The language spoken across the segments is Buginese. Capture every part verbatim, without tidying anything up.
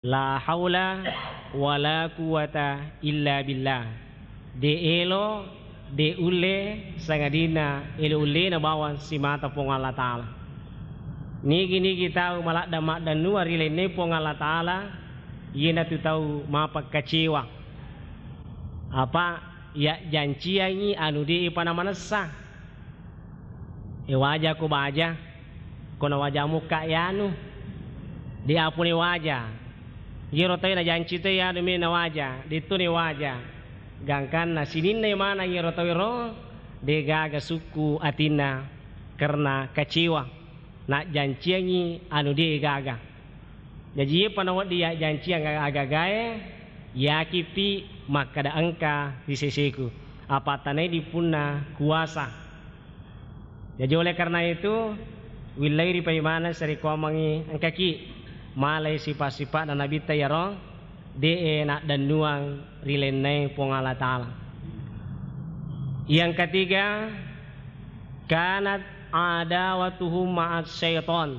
La haula wala quwwata illa billah. De elo, de ulle, sangadinna elo ullena bawang simata Puang Allah Ta'ala. Nigi-nigi tau maladda-, maddannuang ri lainna Puang Allah Ta'ala, iyanatu tau mapakkacewa. Apa iya janciangi anu de pa namanessa. E waja ko baja, ko nawaja mukka yanu. De apone waja. Yero tawe najanci to yanu me nawaja, de to ne waja. Gangkanna sininna manang yero tawe ro, de gaga sukku atinna karena kacewa. Najjanciangi anu de gaga. Jaji, iyapa nawedding yajjanciang aga-agae, yakipi makkada engka ri seseku. Apa tanai dipunna kuasa. Jaji, oleh karena itu, willai ri paimaneng sarekkuammengngi engkaki malai sipa-sipa'na Nabitta iyaro, de'e naddennuang ri lainnae Puang Allah Ta'ala. Yang ketiga, kanat adawatuhum ma'as syaiton.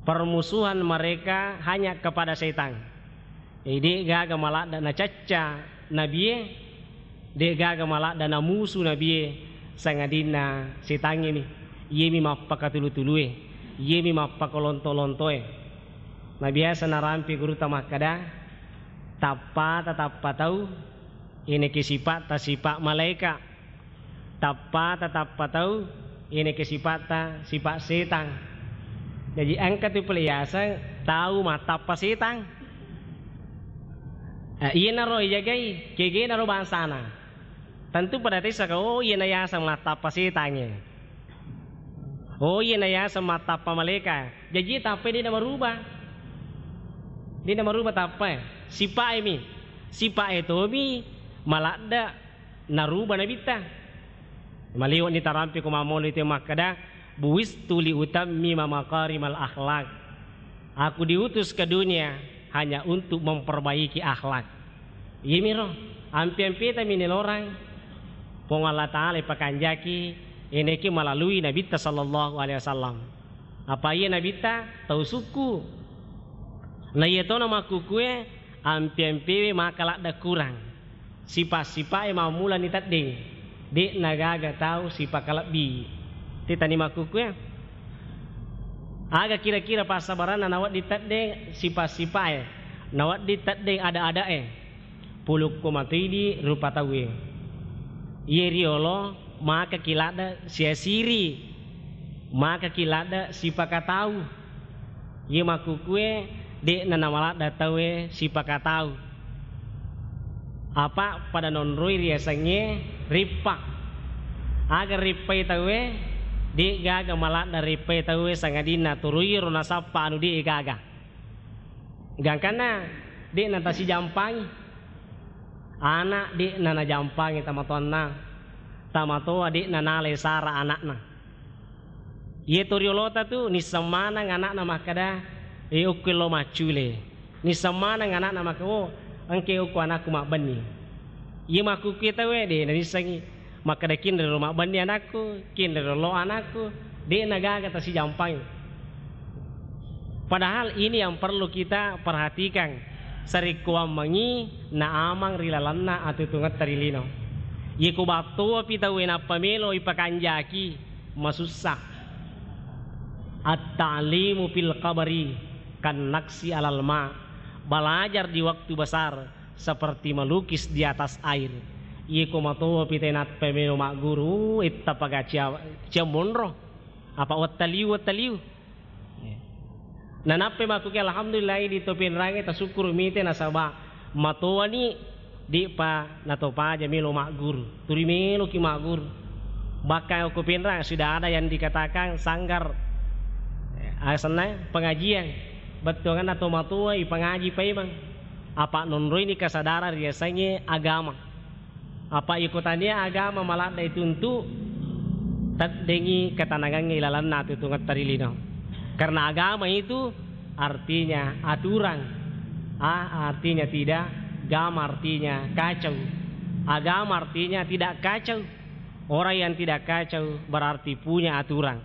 Permusuhan mereka hanya kepada setan. Jadi, de'gaga maladda nacacca nabie, de'gaga maladda namusu nabie, sangadinna setangnge mi. Iyemi mappakatulu-tulue, iyemi mappakalonto-lontoe. Nabiasa narampe gurutta makkada, tappata tappa tau, ineke sipatta sipa malaeka. Tappata tappa tau, ineke sipatta sipa setang. Jaji, engka tu pole yaseng tau mattappa setang. Eh, iyanaro ijagai, kegenaro bangsana. Tentu pada tessaka, oh, iyana yaseng mattappa setangnge. Oh, iyana yaseng mattappa malaeka. Jaji, tappai de' namaruba. De' namaruba tappai. Sipae mi. Sipae tomi maladda naruba nabitta. Maliwani tarampe ko mammolo itu makkada, "Buistu li utammima makarimal akhlak." Aku diutus ke dunia hanya untuk memperbaiki akhlak. Iyemiro, ampe-ampeta minelorang Puang Allah Ta'ala ipakanjaki, eneke malalui Nabitta sallallahu alaihi wasallam. Apa iya Nabitta tau sukku. Na iya tona makkukue, ampe-ampewe maka ladda kurang. Sipa-sipae mammulani teddeng, de'na gaga tau sipa kalebbi. Tetani makkukue. Aga kira-kira passabaranna nawedding teddeng sipa-sipae, nawedding teddeng ada-adae. Pulukku matoidi rupa tauwe. Iye riolo maka kiladda siasiri, maka kiladda sipakatau. Iye makkukue de'na namaladda tauwe sipakatau. Apa pada nonroi riasengnge rippa. Aga rippai tauwe, de'gaga maladda rippai tauwe sangadinna turuiro nasappa anu de'gaga. Gangkanna de'na tasijampangi. Ana' de'na najampangi tamatoanna. Tamatoa de'na nalai sara ana'na. Iye to riolota tu nisseng maneng ana'na makkada, "E, okko lo maccule." Nisseng maneng ana'na makkada, "Oh, engke okko anakku mabbenni." Iye makkukue tauwe de' nanissengi. Makkeda, "Kinrero mabbenni anakku, kinrero lo anakku," de'na gaga tasijampangi. Padahal ini yang perlu kita perhatikan. Sarekkuammengngi naamang ri lalenna atutungetta ri lino. Yeko battoapi tauwe nappa melo ipakanjaki, masussa. At-ta'limu fil kabari kan naksi alal ma. Belajar di waktu besar seperti melukis di atas air. Iye ko matoa pite nappa melo magguru, itta paga cia, cia monro. Apa wettaliu, wettaliu. Nanappa makkuke, alhamdulillah, di to penrange tasukkuru mite nasaba matoani, di pa natopaja melo magguru. Turi meloki magguru. Bahkan ko penrang sudah ada yang dikatakan sanggar, eh, asenna pengajian. Bettuanganna to matoa ipangaji paimeng. Apa nonroini kesadaran riasengnge agama. Apa iko tania agama maladda ituntu, teddengi ketenangangnge ilalanna tutungetta ri lino. Karena agama itu artinya aturan. A artinya tidak, gama artinya kacau. Agama artinya tidak kacau. Orang yang tidak kacau berarti punya aturan.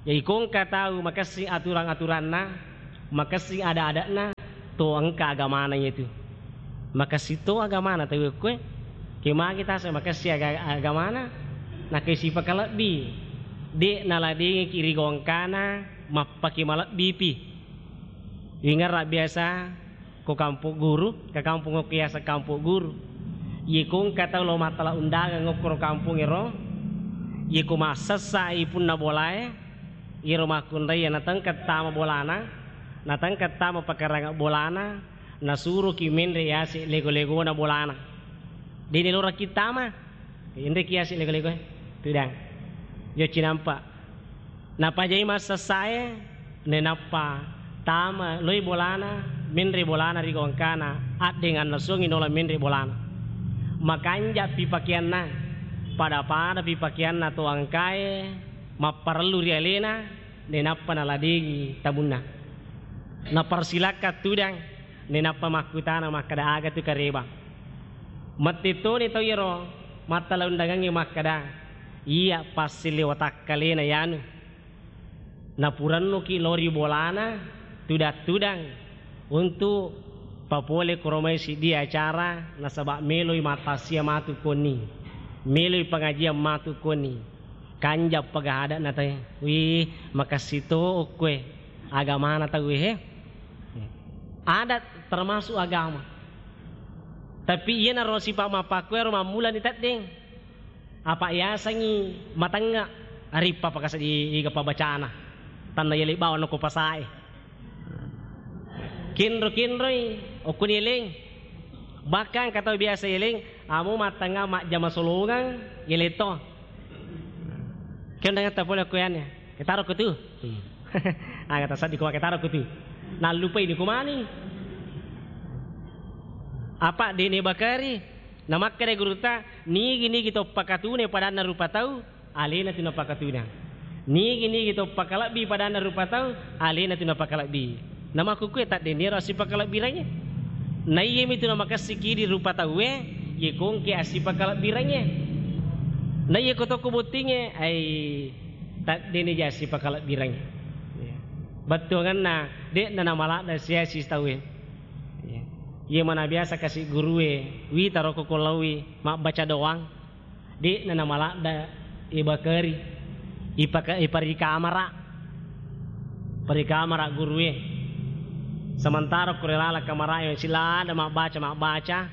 Jadi, ko engka tau makessing aturang-aturanna, Makessing ada-ada'na to engka agamana iyatu. Makessing to agamana tau okkoe. Ke magi tase makessing aga-, agamana, nakke sipakalebbi. De' naladengiki ri gongkana mappake malebbipi. Ingerra biasa ko Kampung Guru, ke kampung okko yaseng Kampung Guru. Iye ko engka tau lo mattala undangan okkoro kampung ero, iye ko massessai punna bolae, iyaro makkunraie natengka tama bolana, natengka tama pakaranga bolana, nasuroki menre yase lego-legona bolana. Dene loraki tama, enreki yase lego-legoe, tudang. Yo cinampa. Napajai massessae, nenappa tama loi bolana, menre bolana ri gongkana, addeng annasuangi nola menre bolana. Makanja'pi pakeanna, pada-padapi pakeanna to engkae, mapparellu ri alena, nenappa naladengi tamunna. Naparsilakkang tudang, nenappa makkutana makkeda, "Aga tu kareba?" Mette toni tau iyaro mattala undangangnge makkeda, "Iya passille watakkalena yanu." Napurennuki lao ri bolana tudang-tudang untuk papole koromai siddi acara, nasaba meloi mattasia matu konni, meloi pengajian matu konni. Kanja pagahada'na tauwe. Wih, makessing to okkoe agamana tauwe he. Adat termasuk agama. Tapi iyanaro sipa' mappakkuero mammulani teddeng. Apa yasengngi matengnga, arippa pakasa di iga pabacana. Tanna yali bawang noko pasae. Kinro-kinroi, okkuni eleng. Bahkan katau biasa eleng, amo mattengnga majjama solongang, yele to. Ke undangatta pole okko yanne, ketaro ko tu. Hmm. Aga tasaddi ko ketaro ko tu. Nallupai ni ko mani. Apa dene bakari? Namakkeda gurutta, nigi-nigi to pakatune padanna rupa tau, alena tu napakatunang. Nigi-nigi to pakalebbi padanna rupa tau, alena tu napakalebbi. Namakkukue taddeniro assipakalebbiranye. Naiyami tu namakessiki di rupa tauwe, ye kongke assipakalebbiranye. Naiye ko tokko bottingnge, ai taddeni ja assipakalebbiranye. Iya. Bettuanganna, de'na namaladda siasi tauwe. Iya. Iye mana biasa kasi gurue, wita roko ko laowi mabbaca doang. De'na namaladda ibakari, ipaka-, iparikamara, parikamara gurue. Sementara kure laleng kamarae silada mabbaca, mabbaca.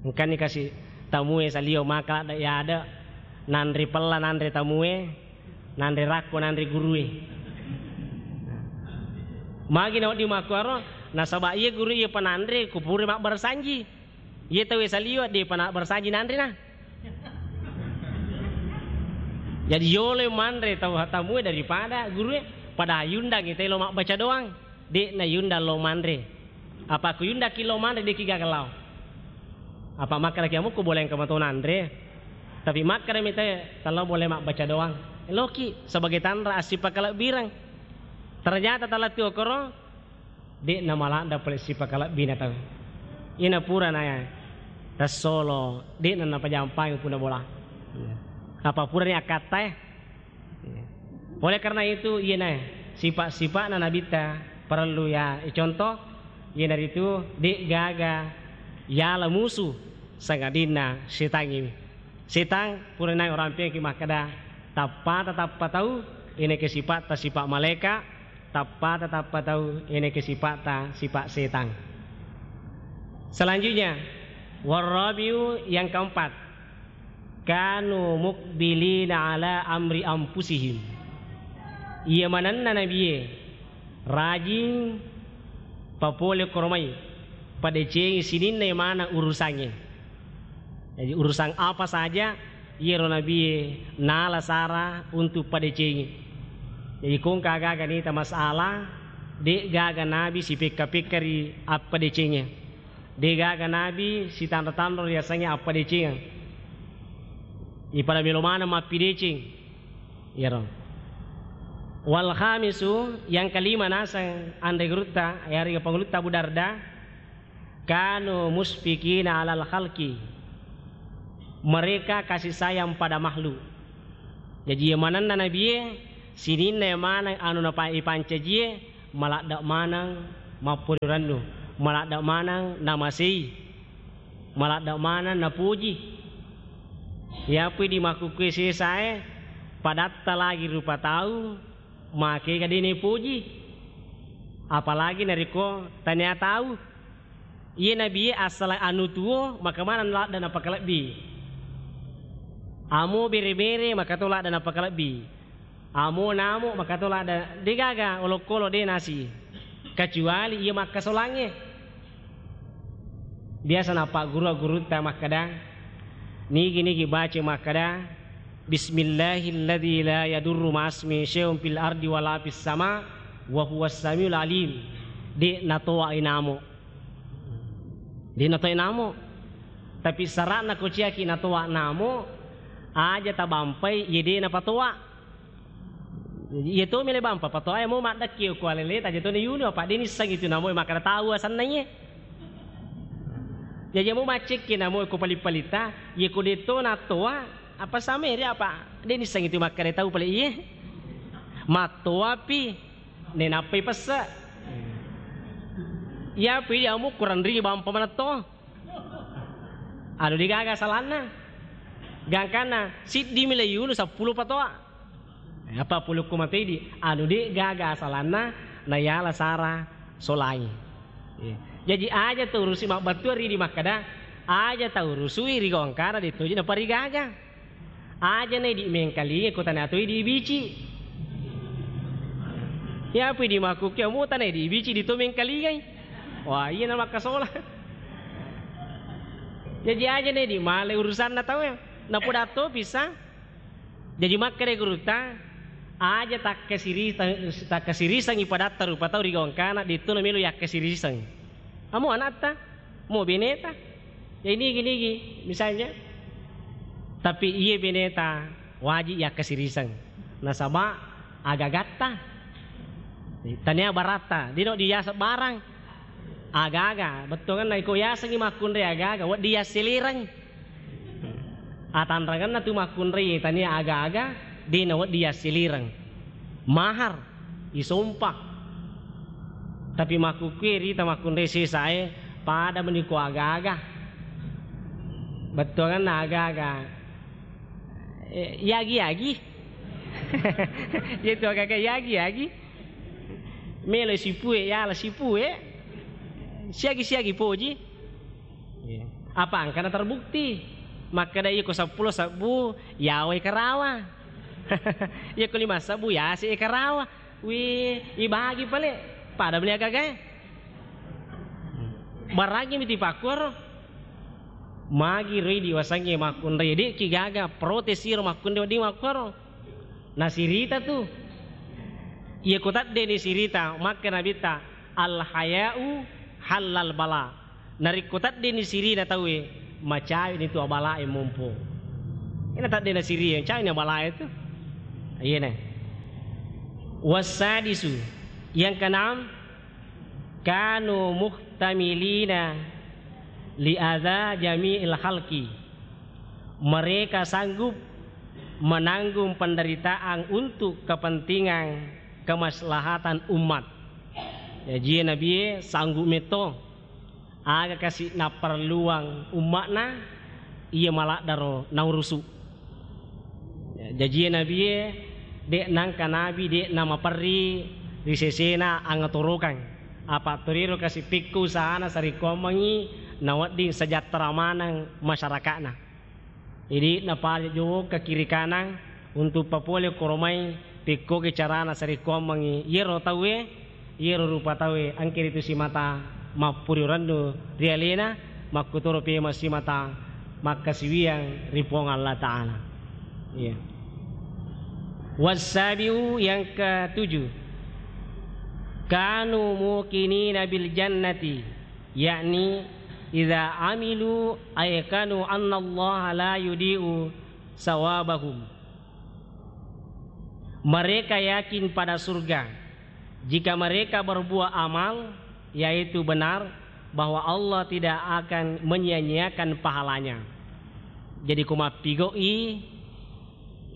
Engkani kasi tamue salio maka ladda yada, nanre pella nanre tamue, nanre rakko nanre gurue. Magi nawedding makkuaro, nasaba iye guru iye pananre kupure mabbarsanji. Iye tauwe saliwa, de'pa nabbarsaji nanrena. Jadi yolo manre tau tamue daripada gurue, pada yundangi telo mabbaca doang, de'na yundang lo manre. Apa ku yundaki lo manre, de'ki gaga lao. Apa makkedaki amukku boleh engka mato nanre. Tapi makkedami te, talo boleh mabbaca doang. Loki sebagai tanra assipakalebbireng. Ternyata talattu okoro, de'na maladda pole sipakalebbina tau. Ina purana tassolo, de'na napajampangi punna bola. Apa purani akkattae. Oleh karena itu, iyena sipa-sipa'na nabitta parellu ya icontoh, iyanaritu de'gaga yala musu sangadinna setangngi. Setang pura naeng orampengki makkeda, tappata tappa tau, iyaneke sipa'ta sipa' malaeka, tappata tappa tau, iyaneke sipa'ta sipa' setang. Selanjutnya, warrabiu, yang keempat, kanu muqbilina ala amri anfusihim. Iya manenna nabie rajing papole koromai, padecengi sininna maneng urusangnge. Jadi, urusan apa saja, iyaro nabie nala sara untuk padecengi. Jadi, kongka gaga nita masalah, de' gaga nabi sipekka-pekka ri appadecengi. De' gaga nabi sitanro-tanro riasengnge appadecengeng. Ipada melo maneng mappideceng. Iyaro. Wal khamisu, yang kelima naseng anre gurutta, yarega pangulutta Abu Darda, kanu musyfiqina alal khalqi. Mereka kasih sayang pada makhluk. Jaji, iya manenna nabie, sininna iya maneng anu napa-, ipancajie, Maladde' maneng mapporirannu, maladde' maneng namasei, maladde' maneng napuji. Iyapui di makkukkue sesae, padatta lagi rupa tau, makega de' nipuji. Apalagi narekko tania tau. Iye nabie asala anu tuo, maka maneng ladde' napakalebbi. Amo bere-bere, maka to ladde' napakalebbi. Amo namo, maka to ladde', de' gaga olokolo de' nasi. Kecuali iya makkasolangnge. Biasa nappagguru-gurutta makkeda, nigi-nigi baca makkeda, "Bismillahilladzi la yadurru ma'asmihi syai'un fil ardi wala fis sama, wa huwas samiul alim." De' natoa inamo. De' natoa inamo. Tapi sara'na ko ciaki natoa namo, aja tabampai iye de' napatoa. Iya to mele bampa patoa, iya mo maddekki ko alele, taja to ni yunu, apa de' nissengi tu namo makkeda tau asenna iye. Jaji mo maccekki namo ko pali-palita, iye ko de' to natoa, apa sameri apa de' nissengi tu makkeda tau pale iye. Mattoapi, nenappai pesse. Iyapi dia mo kurang ri bampa manetto. Anu de' gaga salanna. Gangkanna siddi mi le yunu seppulo patoa. Apa pulukku mate di, anu de' gaga salanna, nayala sara solai. Iya. Jaji aja taurusi mabbattua ri di makkeda, aja taurusui ri gongkana de' toji naparigaga. Aja na idi' mengkalingai ko tania to idi' bici. Iyapui di makkukkue amo tania idi' bici di to mengkalingai. Wah, iya na makkasola. Jaji aja na idi' male urusanna tau ya. Napoda to bisa. Jaji makkeda gurutta, aja takkasiri-, takkasirisengi padatta rupa tau ri gongkana, de' to namelo yakkasiriseng. Amo anatta, mo beneta. Ya, nigi-nigi, misalnya. Tapi iye beneta wajib yakkasiriseng. Nasaba aga-agatta. Tania baratta, de' no diaseng barang. Aga-aga, bettuanna iko yasengi makkunrai aga-aga, wedding yassilireng. Atanrangenna tu makkunrai tania aga-aga, de' na wedding yassilireng. Mahar, isompa. Tapi makkukkue rita makkunrai sesae, pada meni ko aga-aga. Bettuanna aga-aga. Eh, yagi-yagi. Iya tu aga-aga yagi-yagi. Melo sipue, yala sipue. Siagi-siagi poji. Iya. Apa engkana terbukti? Makkeda iya ko seppulo sebbu, yawai karawa. Iya ko lima sebbu, yase karawa. Wi, ibagi pale. Pada meni aga-agae. Barangi miti pakkuaro. Magi roi diwasengnge makkunrai, de'ki gaga protes iro makkunrai wedding makkuaro. Nasirita tu. Iya ko teddeni sirita, makkeda Nabitta, "Al haya'u hallal bala." Narekko teddeni sirina tauwe, macawini tu abalae mompo. Ina teddena sirie, macawini abalae tu. Iyena. Wassadisu, yang keenam, kanu muhtamilina li adza jami'il khalqi. Mereka sanggup menanggung penderitaan untuk kepentingan kemaslahatan umat. Jaji nabie sanggup metto. Aga kasi napparelluang umma'na, iya maladdaro naurusu. Jaji nabie, de' nangka nabi, de' namaperri ri sesena angatorokang. Apa toriro kasi pikku usahana sarekkuammengngi nawedding sejahtera maneng masyarakatna. Idi' napale jokka kiri kanang untuk papole koromai pekkogi carana sarekkuammengngi iyaro tauwe, iyaro rupa tauwe engka ritu simata mappuri rennu ri alena, makkutoro pemeng simata makkasiwiang ri Puang Allah Ta'ala. Iya. Wassabiu, yang ketujuh, kanu muqinina bil jannati. Yakni, idza amilu aikanu annallaha la yudhi'u sawabahum. Mereka yakin pada surga. Jika mereka berbuat amal, yaitu benar, bahwa Allah tidak akan menyia-nyiakan pahalanya. Jadi, ko mappigo'i,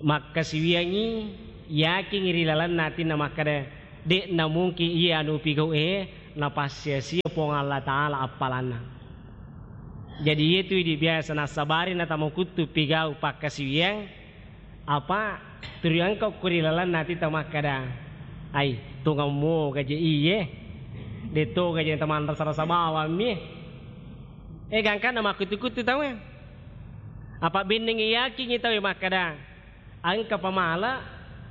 makkasiwiangngi, yakingngi ri lalenna atinna makkeda, De'na mungkin iya anu pigau'e napassiasia Puang Allah Ta'ala appalanna. Jadi, iyetu idi biasa nassabari natamakuttu pigau pakkasiwiang, apa turi engka ko ri lalenna ati tamakkada, "Ai, tongammo gaje iye, de to gaje tamanrasa-rasa bawammi." Eh, gangkanna makkuttu-kuttu tauwe. Apa bennengngi yakingngi tauwe makkada, engka pamala,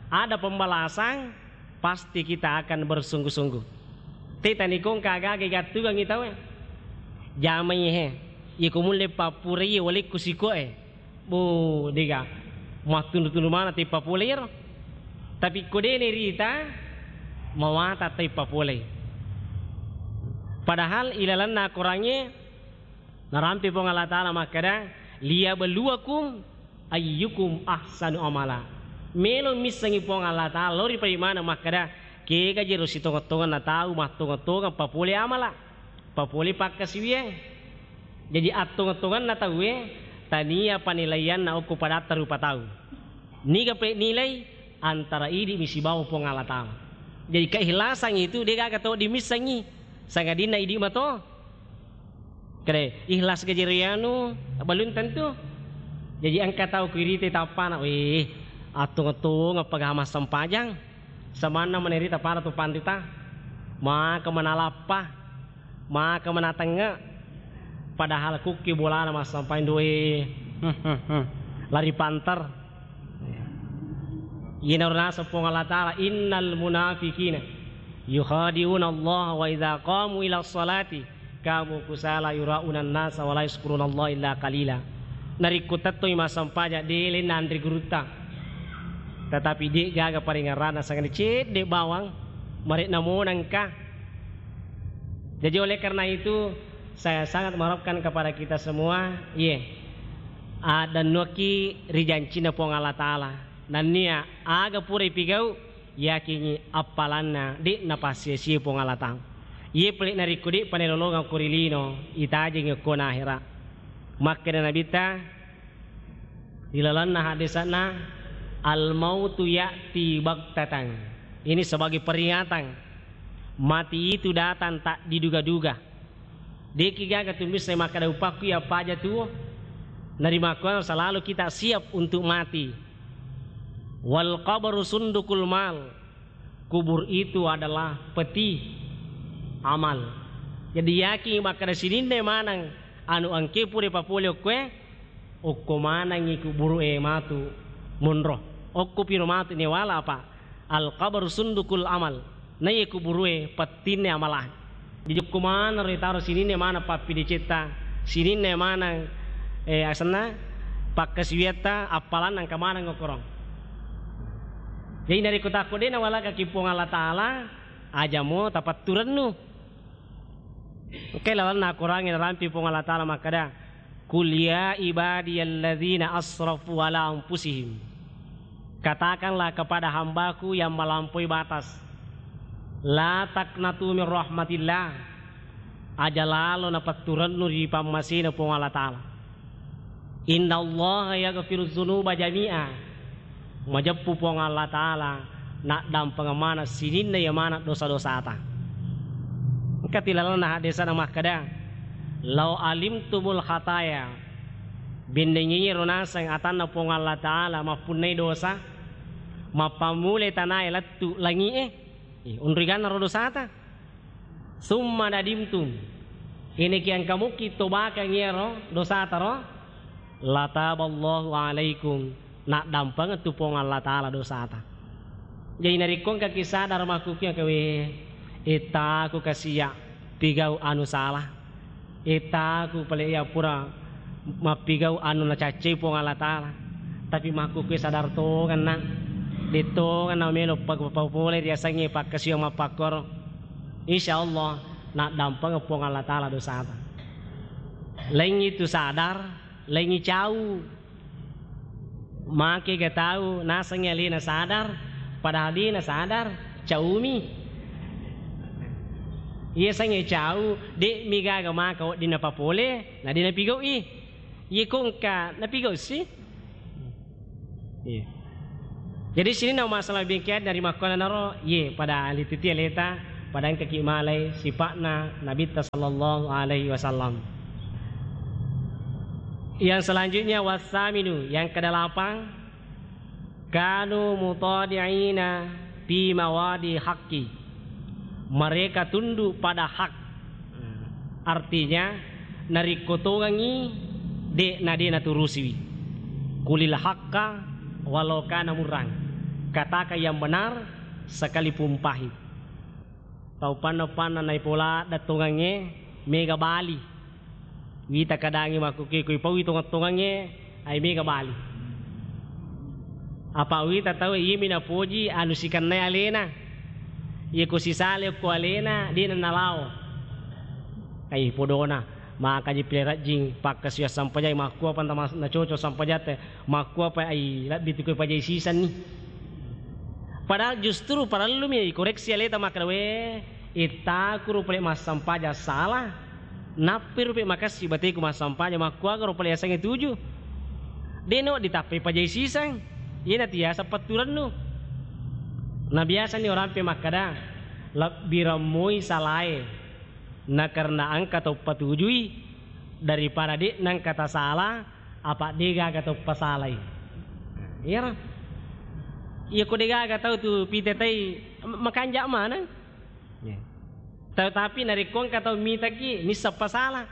ada pembalasan, pasti kita akan bersungguh-sungguh. Teta nikongka agaga igattugangngi tauwe. Jamai he, iko mulle pappurai walekku sikoe. Bo, dega. Mattundu-tundu mana teppa pole iyaro. Tapi ko dene rita, mawata teppa pole. Padahal ilalanna Korangnge, narampe Puang Allah Ta'ala makkada, "Liyabluwakum ayyukum ahsanu amala." Melo missengi Puang Allah Ta'ala, lori paimana makkada, kega jero sitongeng-tongenna tau mattongeng-tongeng papole amala, papole pakkasiwiang. Jadi, attongeng-tongenna tauwe tania panilaianna okko padatta rupa tau. Niga pe nilai antara idi mi sibawa Puang Allah Ta'ala. Jadi, keikhlasan itu degaga to dimissengi, sangadinna idi mato. Kede, ikhlas gaji rianu, belum tentu. Jadi engka tau kuirite tappana, "Weh, attung-attung apa gama sempajang?" Samanna menerita para tu pandita. Maka menalappa, maka menatenge. Padahal kukki bolana massempajang doi. Lari panter. Iyana naseng Puang Allah Ta'ala, "Innal munafiqina yukhadi'una Allah wa idza qamu ila sholati qamu kusala yura'unan nasa wa la yazkuruna Allah illa qalila." Narekko tettoi massempajang, de lenna anre gurutta. Tetapi de gaga paringerrana, sangani cedde bawang, marekna monangka. Jadi oleh karena itu, saya sangat mengharapkan kepada kita semua, iye, addannuakki ri jancinna Puang Allah Ta'ala. Nennia aga pura ipigau, yakingngi appalanna de' napassiasie Puang Allah Ta'ala. Iye pale narekko de' panelolongeng ko ri lino, itajengngi ko na ahera. Makkeda Nabitta, ri lalenna hadisa'na, "Al-mautu ya'ti baghtatan." Ini sebagai peringatan. Mati itu datang tak diduga-duga. De'ki gaga tu misseng makkeda upakku iya paja tuo. Narimakkuang selalu kita siap untuk mati. "Wal qabru sundukul mal." Kubur itu adalah peti amal. Jadi yakin makkeda sininna maneng anu engke pura papole okkoe, okko manengngi kuburu e matu monro. Okko piro matu newala apa? Al qabru sundukul amal. Naiye kuburu e pettinna amala. Jadi okko maneng ro itaro sininna maneng pappidecetta, sininna maneng, eh, asenna pakkasiwiatta, appalanna engka maneng okkoro. Jadi narekko takko de' nawalakaki Puang Allah Ta'ala, aja mo tapatturennu. Engkai lalenna Akorangnge narampi Puang Allah Ta'ala makkeda, "Qul ya ibadiyalladzina asrafu ala anfusihim." Katakanlah kepada hambaku yang melampaui batas, "La taqnatu min rahmatillah." Aja lalo napatturennu ri pammasena Puang Allah Ta'ala. "Innallaha yaghfiru dzunuba jami'a." Majeppu Puang Allah Ta'ala naddampengeng maneng sininna iya maneng dosa-dosata. Engka tilalenna hadisana makkeda, "Lau alimtumul khataya." Bennengngi ro naseng atanna Puang Allah Ta'ala mappunnai dosa, mappammulai tanae lettu langi'e. Eh, onriganna ro dosata. "Summa nadimtum." Eneki engka mukki tobakang iyaro dosata ro, "lataballahu alaikum." Naddampengeng tu Puang Allah Ta'ala dosata. Jadi narekko engkaki sadar makkukkiang kewe, etaku kasiya pigau anu salah. Etaku pale iya pura mappigau anu nacaccai Puang Allah Ta'ala. Tapi makkukue sadar tongenna, de' tongenna melo pa-, papole riasengnge pakkasiwiang mappakkoro. Insya Allah, naddampengeng Puang Allah Ta'ala dosata. Laingngi tu sadar, laingngi cau. Make ga tau nasengngi alena sadar, padahal de' nasadar, caumi. Iya sengnge cau, de'mi gaga maka wedding napapole, na de' napigau'i. Iya ko engka napigau si. Iya. Jadi sininna masalah bengkian dari makkuananaro, ye, pada alituti aleta, pada engkaki malai sipa'na Nabitta sallallahu alaihi wasallam. Yang selanjutnya, wasaminu, yang kedelapan, kanu mutadi'ina fi mawadi haqqi. Mereka tunduk pada hak. Artinya, narekko tongengngi, de' na de' naturusiwi. Qulil haqqa walau kana murran. Katakan yang benar sekalipun pahit. Tau panna-panna naipola da tongengnge, mega bali. Wita kadangi makkukkue, ko ipaui tongeng-tongengnge, ai mega bali. Apa wita tau iyemi napoji anu sikennai alena. Iya ko sisale okko alena, de' na nalao. Ai podona, makaji pile rajing, pakkasiwa sampajai, makkuapa nta mas-, nacoco sampajatte, makkuapa ai labbi tu ko pajai sisenni. Padahal justru parellumi ikoreksi aleta makkeda, "We, ittakuro pale massampaja salah, nappiro pe makessi bateku massampaja, makkuagaro pale yasengnge tuju?" De' no ditappai pajai siseng, iyena tiasa petturennu. Na biasani orang pe makkeda, "Lebbi remmoi salae, na karena engka tau patujui, daripada de' nengka tasala, apa de' gaga tau pasalai." Iyaro. Iya ko de' gaga tau tu pitetai, makanja maneng. Iya. Tetapi narekko engka tau mitaki, nisseng pasala.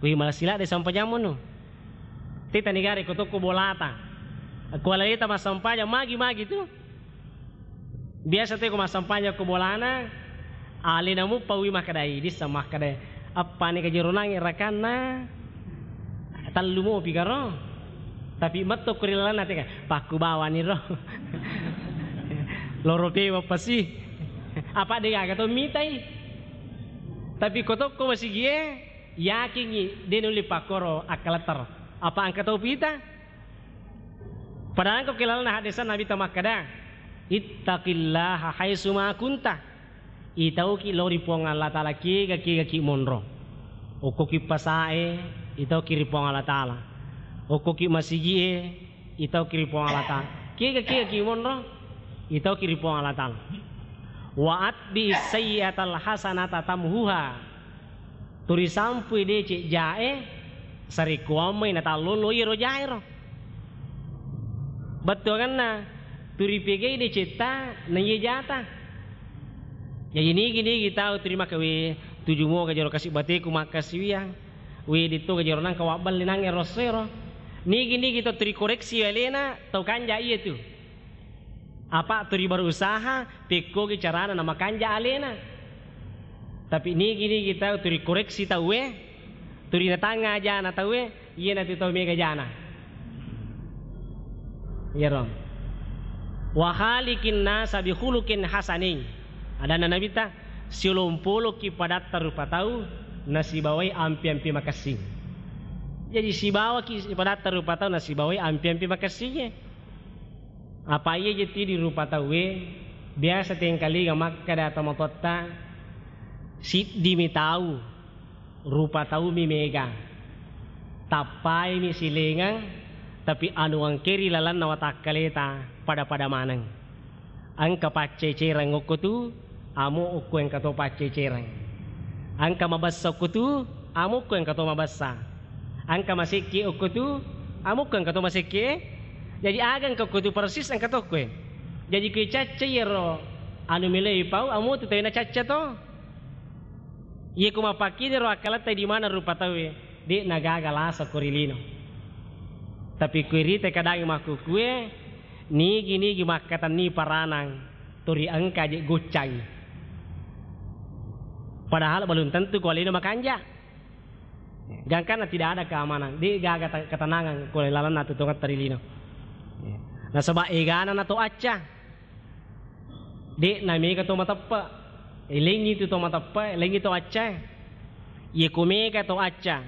Kui, mala sila de' sampajammu no. Teta negara ko tokko bolata. Ko aleta massampajang magi-magi tu. Biasa tu ko massampajang ko bolana, alena muppaui makkedai, dissa makkedai, "Appani kajeronangngi rakanna, tellu mopi karo." Tapi metto ko ri lalenna tega, "Pakku bawani ro." Loro pewa pasi. Apa de' gaga to mitai. Tapi ko tokko masigie, yakingngi de' nulli pakkoro akkaletter. Apa engka tau pita? Padahal ko kilalana haddesan Nabitta makkeda, "Ittaqillaha haitsuma kunta." Itauki lao ri Puang Allah Taala kega-kegaki monro. Okkoki pasae, itauki ri Puang Allah Taala. Okkoki masigie, itauki ri Puang Allah Taala. Kega-kegaki monro, itauki ri Puang Allah Taala. "Wa atbi sayyi'atal hasanata tamhuha." Turi sampui deceng jae, sarekkuammai natallolo iyaro jaero. Bettuangenna, turi pegai decetta na iye jata. Jaji nigi-nigi tau turi makkeda, "We, tuju moga jero kasi bateku makkasiwiang. We, ditto ga jero nangka wabballe nangnge rosso ero." Nigi-nigi to turi koreksi alena, tau kanja iye tu. Apa turi berusaha pekkogi carana namakanja alena. Tapi nigi-nigi tau turi koreksi tauwe, turi natangnga ajana tauwe, iyanatu tau mega jana. Iyaro. "Wa khaliqin nasa bi khuluqin hasanin." Adanna Nabitta, "Siolompoloki padatta rupa tau nasibawai ampi-ampi makessing." Jaji sibawaki padatta rupa tau nasibawai ampi-ampi makessingnge. Apa iya je tidi rupa tauwe, biasa tengkalinga makkeda tomatoatta, "Siddimi tau, rupa taumi mega. Tappaimi silengeng, tapi anu engkeri lalenna watakkaleta pada-pada maneng. Engka paccecereng okko tu, amo okko engka to paccecereng. Engka mabessa okko tu, amo okko engka to mabessa. Engka masekke okko tu, amo okko engka to masekke. Jaji aga engka okko tu persis engka to okkoe. Jaji kui cacca iyaro anu meloi pau, amo tu tawena cacca to." Iya ku mappakkini ro akkaletta di mana rupa tauwe, de' nagaga lasa ko ri lino. Tapi ku irita kadangi makkukue, nigi-nigi makkatenni paranang, turi engka je goccangi. Padahal belum tentu ko alena makanja. Gangkanna tidak ada keamanan, de' gaga ta-, ketenangan ko lalenna tu tongetta ri lino. Nasaba egana na to acca. De' na mega to mateppe. Elengi tu to mateppe, elengi to acca. Iye ko mega to acca,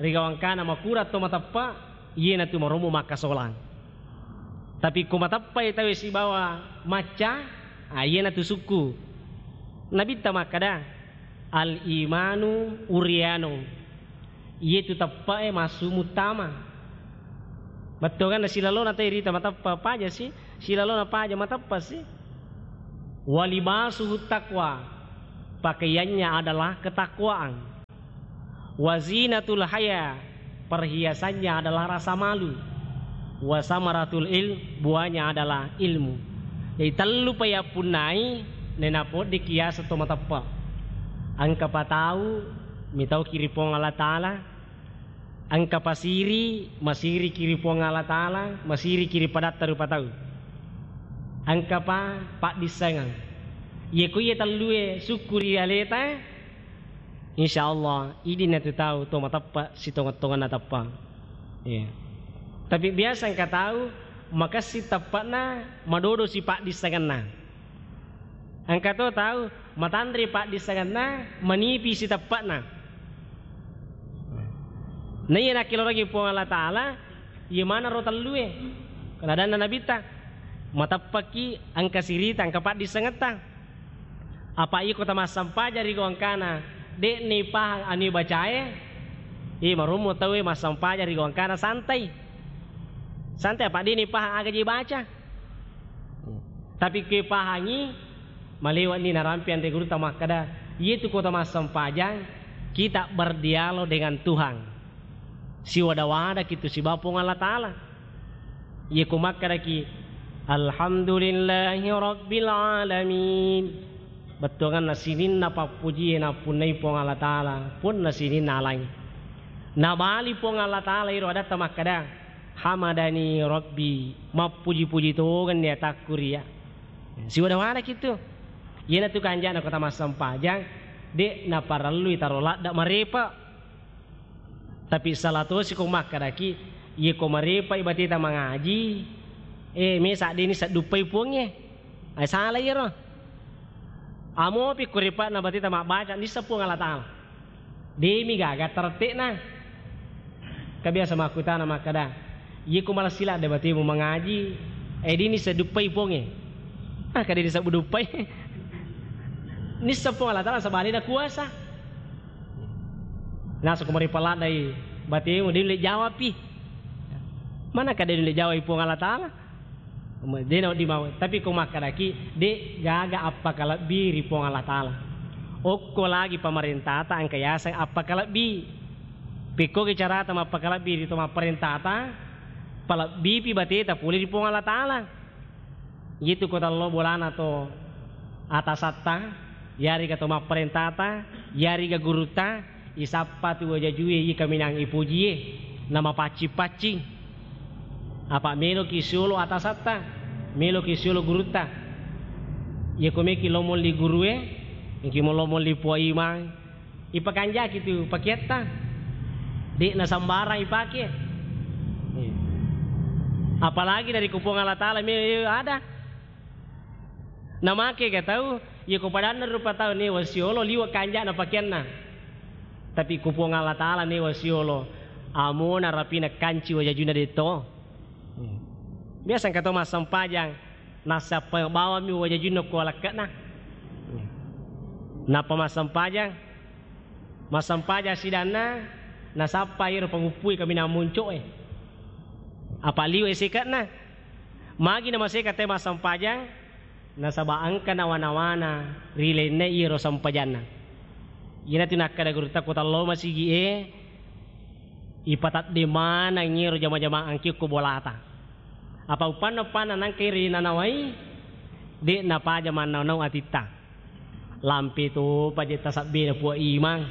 rigawangkana makurang to mateppe, iyena tu marommo makkasolang. Tapi ko mateppai tauwe sibawa macca, ah, iyena tu sukku. Nabitta makkeda, "Al imanu uryanu." Iye tu teppe'e massu muttama. Bettuanna silalona tau irita mateppe paja si, Silalona paja mateppa si. Walibasuhu taqwa, pakaiannya adalah ketakwaan. Wazinatul haya, perhiasannya adalah rasa malu. Wasamaratul ilm, buahnya adalah ilmu. Jadi tellu pa yappunnai, nenapoddi kiasa to mateppa. Engka pa tau mitau kiri Puang Allah Ta'ala, engka pa siri, masiriki ri Puang Allah Ta'ala, masiriki ri padatta rupa tau. Engka pa paddissengeng. Iye ko iye tellue sukku ri aleta, insya Allah, idi natu tau to mateppa sitongeng-tongenna teppa. Iya. Tapi biasa engka tau makessing teppa'na, madodo si paddissengenna. Engka to tau matanre paddissengenna, manipi siteppa'na. Naiya nakkelorangi Puang Allah Ta'ala, iye maneng ro tellue. Kena adanna Nabitta, mateppaki engka sirita, engka paddissengetta. Apa iko tamassempajang ri gau engkana, de'ni pahang anu bacae, eh, marummu tauwe massempajang ri gau engkana santai. Santai apa de'ni pahang aga je baca. Tapi ke pahangi, malewatni narampe anre gurutta makkada, iyetu kota massempajang, kita berdialog dengan Tuhan. Siwada-wadaki tu sibawa Puang Allah Ta'ala. Iye ko makkedaki, "Alhamdulillahi Rabbil Alamin." Bettuanganna sininna pappujie nappunnai Puang Allah Ta'ala, punna sininna alang. Nabali Puang Allah Ta'ala iro adatta makkeda, "Hamadani Rabbi," mappuji-puji tongenni atakku ria. Siwada-wadaki tu. Iyanatu kanjana kota massempajang, de' naparellui taro ladda marepa. Tapi sala tosi ko makkedaki, iye ko marepai bateta mangaji, eh, mesa de'ni sedduppai Puangnge. Ai sala iyaro. Amopi ko repa'na bateta mabbaca, nissa Puang Allah Ta'ala. De'mi gaga terette'na. Ka biasa makkutana makkeda, iye ko malessi ladde batemu mangaji, eh, de'ni sedduppai Puangnge. Ah, ka de'ni sedduppai. Nissa Puang Allah Ta'ala sabalena kuasa. Nasako maripalladdai batemu, de' nulle jawapi. Mana ka de' nulle jawai Puang Allah Ta'ala? De' nawedding mau. Tapi ko makkedaki, de' gaga appakalebbi ri Puang Allah Ta'ala. Okko lagi pamarentata engka yaseng appakalebbi. Pekkogi carata mappakalebbi ri to mapparentata, palebbipi bateta pole ri Puang Allah Ta'ala. Yetu ko tallo bolana to atasatta, yariga to mapparentata, yariga gurutta, isappa tu wajajue, ikaminang ipujie, namapaccing-paccing. Apa meloki siolo atasatta, meloki siolo gurutta. Yako meki lomolli gurue, engki mo lomolli Puang Imang, ipakanjaki tu pakeatta. De'na sambarang ipake. Iya. Apalagi dari ku Puang Allah Ta'ala me ada. Namake ga tau, iya ko padanna rupa tau newa siolo liwa kanjana pakeanna. Tapi ku Puang Allah Ta'ala newa siolo amona rapina kanci wajajuna de'to. Iya. Biasa engka to massempajang, nassappa bawammi wajajunna ko alekke'na. Iya. Nappa massempajang, massempajang sidanna, nasappa iyaro panguppui kaminang munco'e. Apa liwe seke'na. Magi namaseka te massempajang, nasaba engka nawa-nawana ri lainna iyaro sempajanna. Iyanatu nakkeda gurutta ko tallo masigi'e, ipatadde maneng iyaro jama-jamaah engki ko bolata. Apa upanna-upanna nangka iri nanawai, de' napaja mannau-nau atitta. Lampe topa je tasabbena Puang Imang.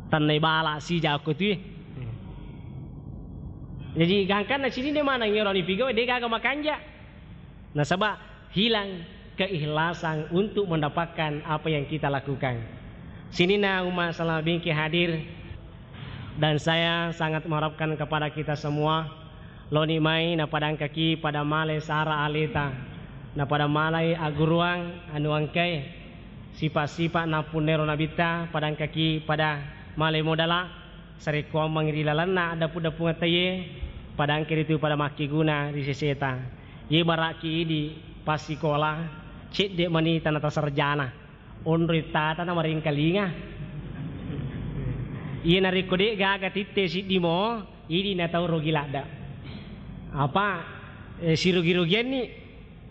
Tennai bala sija ko tui. Jadi gangkanna sininna maneng iyaro nipigau de' gaga makanja. Nasaba hilang keikhlasan untuk mendapatkan apa yang kita lakukan. Sininna umma salama bingki hadir, dan saya sangat mengharapkan kepada kita semua, loni mai napadangkaki pada male sara aleta, napada malai agguruang anu engkae sipa-sipa nappunnero nabitta, padangkaki pada male modala, sarekkoammeng ri lalenna addapu-dapungetta ye, padangke ritu pada makkeguna ri seseta. Ye bara'ki idi passikola, cedde' mani tanata sarjana, onroi tata na maringkalinga. Iye narekko de' gaga titte siddi mo, idi natau rogi ladda. Apa? eh, sirugi-rugianni,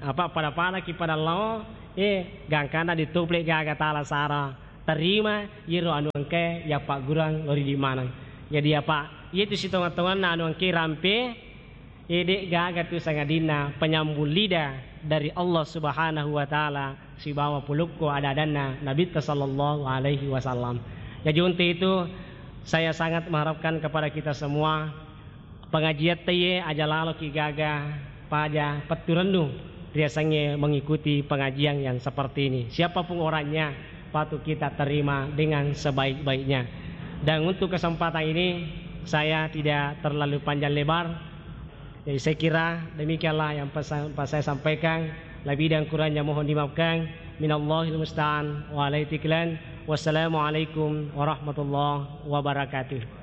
apa pada-padaki pada lao, eh, gangkana ditople gaga tala sara terima, yero anu engkae yappaggurang lao ri idi maneng. Jadi apa, iyetu sitonga-tonganna anu engkae rampe, eh, de' gaga tu sangadinna penyambung lidah dari Allah Subhanahu wa Ta'ala sibawa pulukko ada-adanna Nabitta sallallahu alaihi wasallam. Jadi untuk itu, saya sangat mengharapkan kepada kita semua, pengajiatta iye aja laloki gaga, paja petturennu riasengnge mengikuti pengajian yang seperti ini. Siapapun orangnya, patut kita terima dengan sebaik-baiknya. Dan untuk kesempatan ini, saya tidak terlalu panjang lebar. Jadi, saya kira demikianlah yang pesan, pas saya sampaikan. Lebih dan kurangnya mohon dimaafkan. Minallahil musta'an wa alaihi tiklan. Wassalamualaikum warahmatullahi wabarakatuh.